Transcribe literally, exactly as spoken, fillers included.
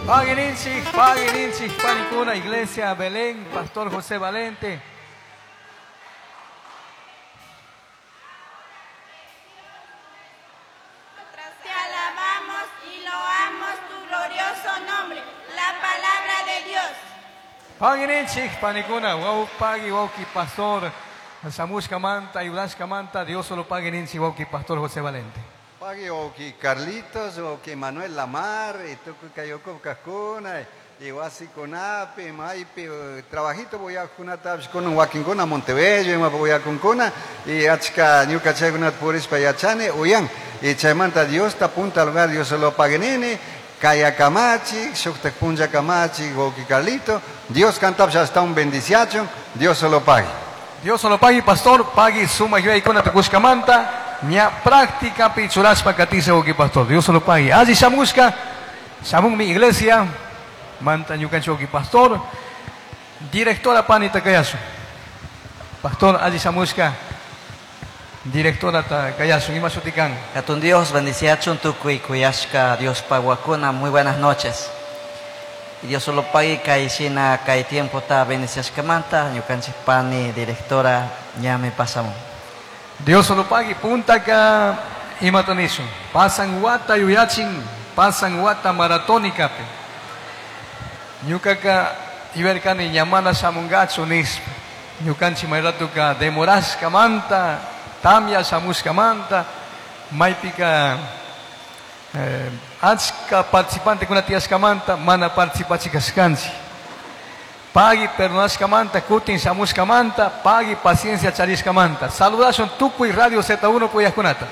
Paguininchik, paguininchik, panikuna, Iglesia Belén, Pastor José Valente. Te alabamos y loamos tu glorioso nombre, la palabra de Dios. Paguininchik, panikuna, wau pagui, wauki, pastor, Samushka manta, Ayudashka manta, Dios solo paguininchik, wauki, Pastor José Valente. Pagui, wauki Carlitos, wauki Manuel Lamar, y tukuy kayoko kajkuna, y wasikunapi, maypi, trabajito voy a kunatapish kunan wakinkuna Montebello, ima voy a kunkuna, y achka ñuka chaykunata purishpa yachani, uyan, y chaymanta Dios ta punta lugar, Dios solo paguinini, Kaya Kamachi, shuktak punlla Kamachi, wauki Carlito, Dios cantapish hasta un bendiciachon, Dios solo pague. Dios solo pague, pastor, pague suma yuyaykuna tukushkamanta, ña práctica pichurashpa katisa wauki pastor, Dios solo pague. Alli shamushka, shamunmi iglesia, manta ñukanchik wauki pastor, directora panita kayasun. Pastor, alli shamushka, directora ta kayasun, ima shutikan. Hatun Dios, bendiciachun tukuy kuyashka Dios paguakuna, muy buenas noches. Y Dios solo pague kay shina kay tiempo ta bendiciashkamanta, ñukanchik pani directora ñami pasamun. Dios solo pague, punta ka imata nishun. Pasan wata yuyachin, pasan wata maratónica pe. Ñukaka iberkani ñamana shamungachu nispa. Ñukanchik mayratuka demorashkamanta, tamya shamushkamanta, maypika, eh, achka participantekuna tiyashkamanta, mana participachikashkanchik. Pagui perdonashkamanta, kutin shamushkamanta, pagui paciencia charishkamanta. Saludashun tukuy Radio Z uno puyajkunata.